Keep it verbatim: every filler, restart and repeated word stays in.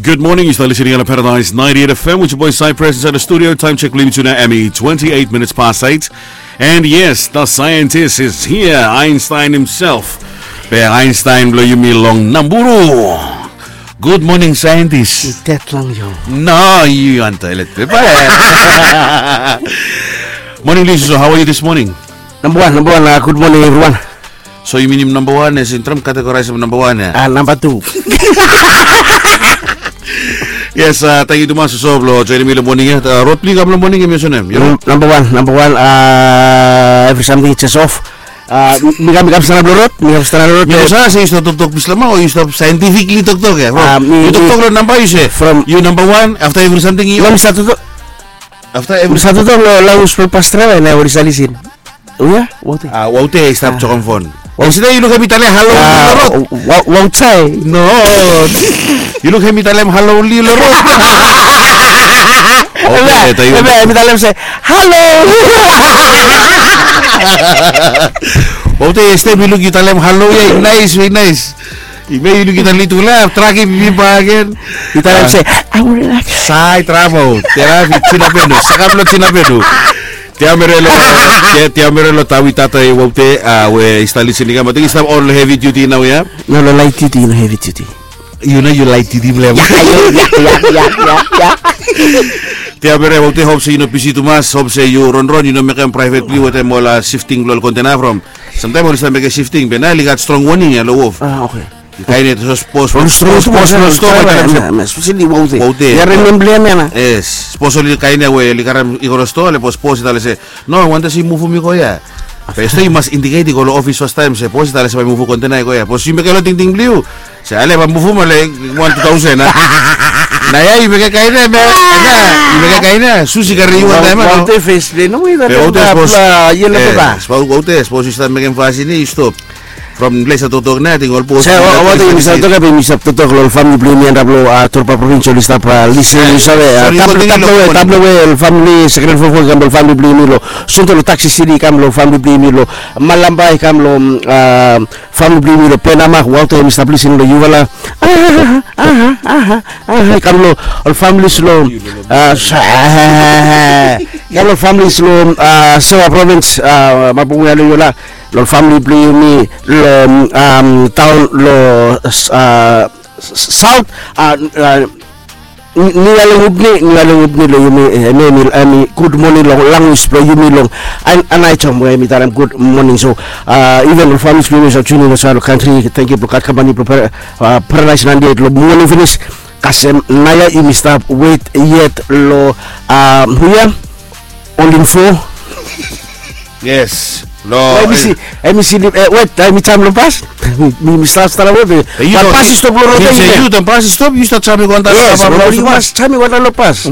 Good morning, yu stap listening on Paradise ninety-eight F M with your boy Cypress inside the studio. Time check, leave it to now, Emmy, twenty-eight minutes past eight. And yes, the scientist is here, Einstein himself. Be Einstein blo yumi long Naburu. Good morning, scientist. Tet long yu. No, yu on toilet paper. Morning, Lisa. So how are you this morning? Number one, number one, uh, good morning, everyone. So yu minim namba wan, as in Trump categorize namba wan ya? Ah, namba tu. Yes, uh, tangkiu tumas so blo joinim mi lo moning ya. Uh, rod blo yu kam lo moning ya, mi olsem nem. Yu namba wan, namba wan, uh, every something just off. Uh, mi kam, mi kam stap lo rod, mi kam stap lo rod. Mi no save se yu stap toktok Bislama o yu stap scientifically toktok ya. From yu toktok lo namba yu se from yu namba wan, afta every something yu. No, mi stap toktok. Afta every. Mi stap toktok lo language blo pas draiva na ol i stap lisin. Oia, Waute. Ah, Waute i stap jokom fon. Waute, yu lukim mi talem halo lo rod? Waute. No. Yu lukim mi talem halo li lo rod? Waute, mi talem se halo. Waute, stem yu luk yu talem halo ya, i nais, i nais. I me yu luk yu talem tu la, traki mi bagen. Yu talem se, I will relax. Sai tramo, terapi, Jinapenu, sakap lo Jinapenu. Tiamere lo, tia, tiamere lo tawi tata i Waute, a, we i stap listening, kam, ating i stap on lo heavy duty nao ya? No, lo light duty, no heavy duty. Yu no, yu light duty blem. Ya, ya, ya, ya, ya, ya. Tiamere Waute, hop se yu no bisi tumas, hop se yu ronron, yu no mekem private blo yu wetem ol, a, shifting blo ol kontena from. Samtaem oli stap mekem shifting, be nao oli gat strong warning ya lo wof. Ah, okay. Kaen ya, sapos, sapos, sapos, sapos, sapos, sapos, sapos, sapos, sapos, sapos, oli kaen ya we oli karem i go lo stoa, le bos, bos i talem se, no, wantem se yu muvum i go ya. Be stori yu mas indicate i go lo ofis fastaem se bos i talem se bae muvu kontena i go ya. Bos yu mekem lo tingting blo yu se ale bae muvum ale wan tu taosen, a. Nao ya yu mekem kaen ya, me, yu mekem kaen ya, sus i karem yu wantaem, a, no? Waute fes blong yu, be waute, sapos, yelo pepa. Waute, sapos yu stap mekem fasin ya, yu stop. From ples ya toktok nao, ating ol bos. Waute, mi stap toktok ya, be mi stap toktok lo ol famili blong yumi antap lo, a, Torba provins, oli stap, a, listening, yu save, a, tap lo we, tap lo we ol famili, second fofo, kam lo famili blong yumi lo Sonto lo Taxi City, kam lo famili blong yumi lo Malamba, kam lo, a, famili blong yumi lo Penama, Waute, mi stap listening lo yufala. Aha, aha, aha, aha, kam lo ol familis lo, a, kam lo ol familis lo, a, Sewa provins, a, mapung ya lo yufala. Lo famili blong yumi lo, am, taon lo, a, saot, a, nialeng upni, nialeng upni lo yumi, e, hemi, hemi gud moning lo language blo yumi lo Aneityum we hemi talem gud moning. So, a, iven lo familis blong yumi olsem tuning lo saed lo kantri, tangkiu blo gat kampani blo Paradise ninety-eight lo moning finis. Kasem nao ya yumi stap wet yet lo, a, hu ya? Ol info. Yes. Lo, hemi si, hemi si, e, wet, hemi jam lo bas. Mi, mi stap, stap lo wet. Wan bas i stop lo rod ya. Yu, taem bas i stop, yu stap jam i go antap. Yes, yu mas jam i go antap lo bas.